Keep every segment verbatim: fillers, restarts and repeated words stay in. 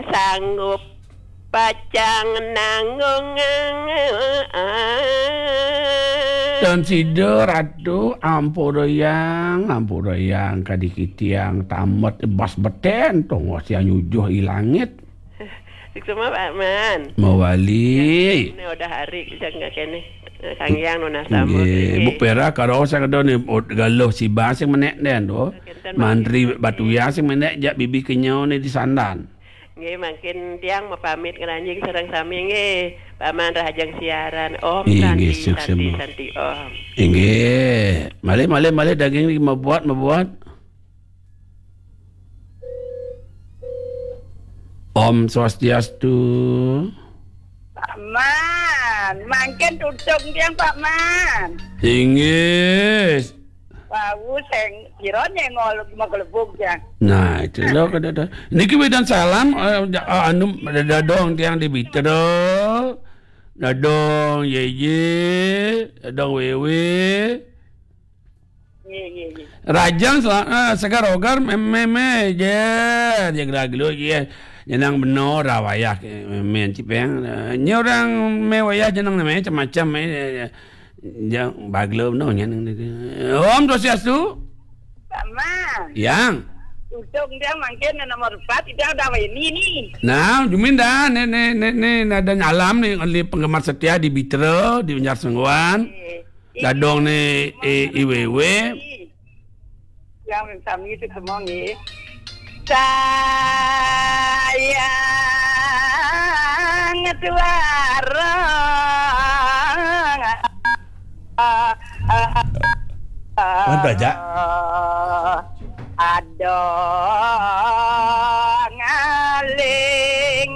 sanggup pacang nanggung. Dan sida ratu, ampura yang, ampura yang, kadi kitiang tamet bas beten, tongos yang nyujuh i langit. Suksma, Pak Man. Mawali. Ini udah hari, jangan kene. Kang Yang nunas tamu. Nggih, Bu Pera karo sing ada ni, galuh sibah sing menek den tu. Mantri batu ya sing menek jak bibi kenyau ni di sandan. Nggih, mangkin tiang mapamit ngranjing sareng sami nggih. Paman rahajeng siaran. Om. Nggih, Santi, nggih, Santi, suksma. Santi, Om. Nggih. Malih, malih, malih daging niki mabuat, mabuat. Om Swastiastu. Pak Man, mangkin tutung tiang, Pak Man. Inggih. Wau sing pira nyengol maglebug ya. Nah, itu lho kada ada. Niki wedan salam, eh, ja-, ah, anu, dadong tiang di Bitra. Dadong Yeye, dadong Wewe. Nggih, nggih, nggih. Rajang sela-, eh, segar ogar meme je, je gelagelu je. Jenang beno ra wayah ke meme cipeng. Eh, nya orang me wayah jenang name macam-macam, eh, eh, eh. Jang bagelo beno nyanang. Om Swastiastu. Sama. Yang. Tutung dia mangkin nomor empat, dia udah ini ni. Nah, jumin dah, ni, ni, ni, ni, ada nyalam ni, oleh penggemar setia di Bitra, di Banjar Sengguan. Eh, Dadong ni, eh, I Wewe. Yang sami itu semua nggih. Sayang tuara. Mantap, Jak. Ada ngaling.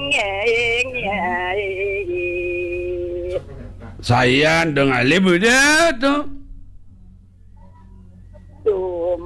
Saya dong alih beda tu.